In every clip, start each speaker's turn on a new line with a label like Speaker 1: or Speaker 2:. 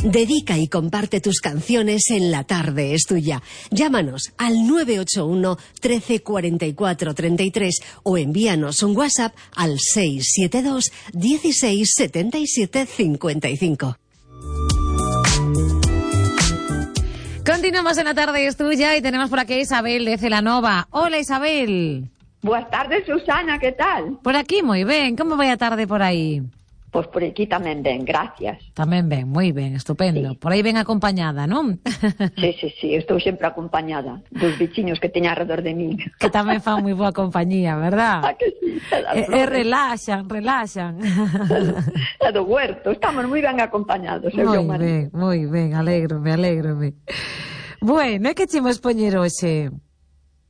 Speaker 1: Dedica y comparte tus canciones en La Tarde es Tuya. Llámanos al 981 13 44 33 o envíanos un WhatsApp al 672 16 77 55.
Speaker 2: Continuamos en La Tarde es Tuya y tenemos por aquí a Isabel de Celanova. Hola, Isabel.
Speaker 3: Buenas tardes, Susana, ¿qué tal?
Speaker 2: Por aquí moi ben, como vai a tarde por aí?
Speaker 3: Pois por aquí tamén ben, gracias.
Speaker 2: Tamén ben, moi ben, estupendo.
Speaker 3: Sí.
Speaker 2: Por aí ben acompañada, non?
Speaker 3: Sí, estou sempre acompañada dos veciños que teño alrededor de mí.
Speaker 2: Que tamén fan moi boa compañía, verdad?
Speaker 3: Ah, que sí,
Speaker 2: relaxan.
Speaker 3: É do huerto, estamos moi ben acompañados.
Speaker 2: Moi ben, alégrome. Bueno, e que chemos poñer hoxe?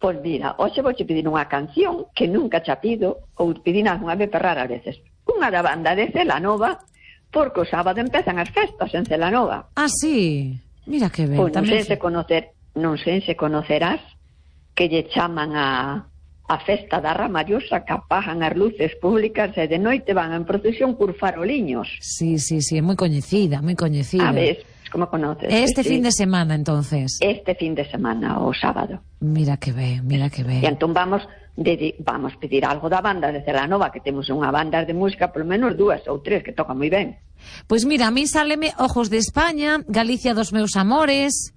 Speaker 3: Pois mira, hoxe vou pedir unha canción que nunca xa pido, ou pedinas unha vez perrar a veces. Unha da banda de Celanova, porque o sábado empezan as festas en Celanova.
Speaker 2: Ah, sí? Mira que ben.
Speaker 3: Pois non sei se conocerás que lle chaman a festa da Ramallosa, que apagan as luces públicas e de noite van en procesión por faroliños.
Speaker 2: Sí, é moi coñecida.
Speaker 3: A ver, como conoces?
Speaker 2: Este fin de semana, entonces.
Speaker 3: Este fin de semana, o sábado.
Speaker 2: Mira que ben.
Speaker 3: E entón vamos pedir algo da banda de Celanova, que temos unha banda de música, polo menos 2 ou 3, que tocan moi ben.
Speaker 2: Pois mira, a mí sáleme Ojos de España, Galicia dos meus amores.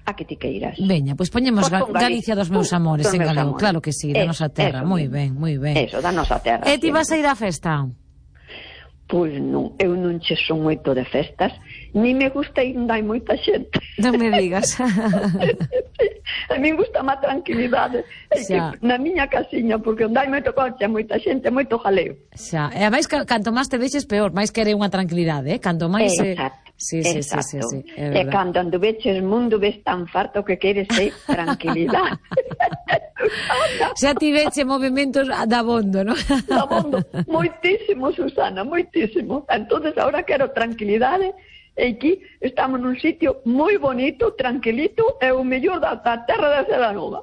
Speaker 3: A que ti queiras.
Speaker 2: Veña, pois poñemos Galicia dos meus amores en galego, claro que sí, da nosa terra, moi ben.
Speaker 3: Eso, da nosa terra.
Speaker 2: E ti vas a ir á festa?
Speaker 3: Pois non, eu non che son moito de festas, ni me gusta ir onde hai moita xente.
Speaker 2: Non me digas.
Speaker 3: A mí gusta má tranquilidade, na miña casiña, porque onde hai moito coche, moita xente, moito jaleo.
Speaker 2: Xa, e a máis canto máis te deixes peor, máis quere unha tranquilidade, canto máis...
Speaker 3: Exacto.
Speaker 2: Sí,
Speaker 3: e cando anduveches mundo ves tan farto que queres tranquilidade.
Speaker 2: Xa tiveche movimentos dabondo, non?
Speaker 3: Dabondo, moitísimo, Susana, moitísimo. Entonces ahora quero tranquilidade. E aquí estamos nun sitio moi bonito, tranquilito, e o mellor da terra de Celanova.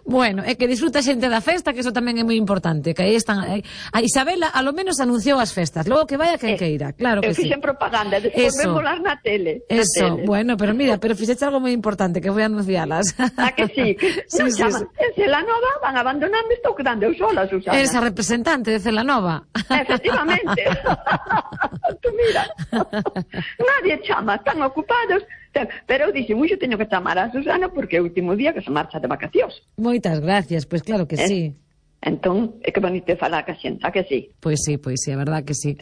Speaker 2: Bueno, é que disfruta xente da festa, que eso tamén é moi importante, que aí están... A Isabela, a lo menos anunciou as festas, logo que vaya quen queira, claro que sí.
Speaker 3: Eu fixen propaganda, despois vémolas na tele.
Speaker 2: Eso, bueno, pero mira, fixeche algo moi importante, que foi anuncialas.
Speaker 3: A que sí?
Speaker 2: Sí.
Speaker 3: En Celanova van abandonando, estou quedando eu sola, Susana.
Speaker 2: Eres a representante de Celanova.
Speaker 3: Efectivamente. Tú mira... Nadie chama, están ocupados, pero eu dixen, muxo teño que chamar a Susana porque é o último día que se marcha de vacacións.
Speaker 2: Moitas gracias, pois claro que sí.
Speaker 3: Entón, é que bonito falar ca xente, a que sí?
Speaker 2: Pois sí, é verdad que sí.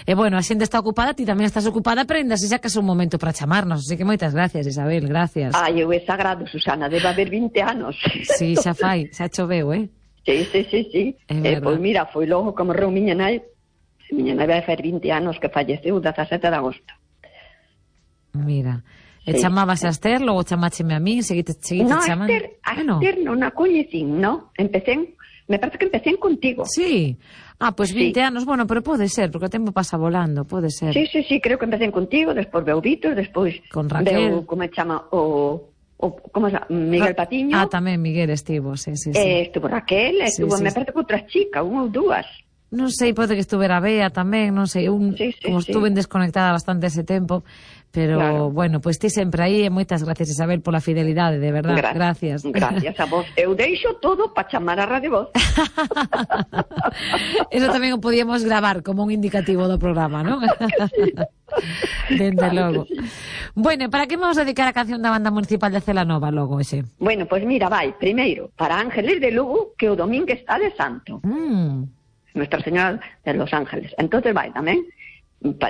Speaker 2: E bueno, a xente está ocupada, ti tamén estás ocupada, pero ainda se xa que é un momento para chamarnos, así que moitas gracias, Isabel, gracias.
Speaker 3: Ai, eu é sagrado, Susana, debe haber 20 anos.
Speaker 2: Sí, xa choveu,
Speaker 3: Sí. Pois mira, foi logo como morreu miña nai vai fer 20 anos que falleceu, 17 de agosto.
Speaker 2: Mira, e chamabas a Esther, logo chamácheme a mí, seguite chamando.
Speaker 3: No, Esther non a coñecín, no? Me parece que empecé contigo.
Speaker 2: Sí. Ah, pois 20 anos, bueno, pero pode ser, porque o tempo pasa volando, pode ser.
Speaker 3: Sí, creo que empecé contigo, despois veu Vítor, despois
Speaker 2: con Raquel.
Speaker 3: Veu, como chama, como se chama, Miguel Patiño.
Speaker 2: Ah, tamén Miguel estivo, sí.
Speaker 3: Estuvo Raquel, me parece que outras chicas, unha ou dúas.
Speaker 2: Non sei, pode que estuvera Bea tamén, non sei, como estuve desconectada bastante ese tempo, pero claro. Bueno, pois ti sempre aí e moitas gracias, Isabel, pola fidelidade, de verdad, gracias.
Speaker 3: Gracias a vos, eu deixo todo para chamar a Radio Voz.
Speaker 2: Eso tamén o podíamos gravar como un indicativo do programa, non?
Speaker 3: Sí.
Speaker 2: Dende logo. Sí. Bueno, para que vamos a dedicar a canción da banda municipal de Celanova logo, ese?
Speaker 3: Bueno, pois mira, vai, primeiro, para Ángeles de Lugo, que o domingo está de santo. Nuestra Señora de los Ángeles. Entonces vai tamén,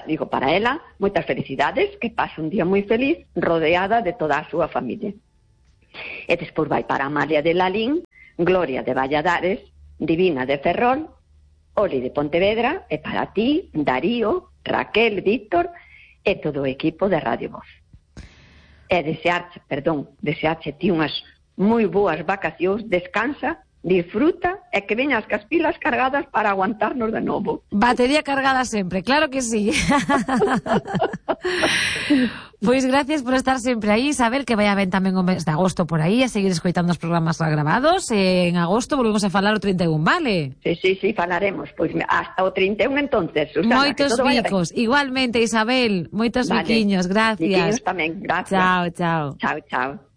Speaker 3: digo, para ela, moitas felicidades, que pase un día moi feliz, rodeada de toda a súa familia. E despois vai para Amalia de Lalín, Gloria de Valladares, Divina de Ferrol, Oli de Pontevedra, e para ti, Darío, Raquel, Víctor, e todo o equipo de Radio Voz. E desearche ti unhas moi boas vacacións, descansa, disfruta e que veñas cas pilas cargadas para aguantarnos de novo.
Speaker 2: Batería cargada sempre, claro que sí. Pois gracias por estar sempre aí, Isabel, que vai a ben tamén o mes de agosto por aí, a seguir escoitando os programas grabados, en agosto volvemos a falar o 31, vale?
Speaker 3: Sí, falaremos, pois hasta o 31 entonces, Susana.
Speaker 2: Moitos bicos, igualmente, Isabel, moitos biquiños, gracias.
Speaker 3: Biquiños tamén, gracias.
Speaker 2: Chao.
Speaker 3: Chao.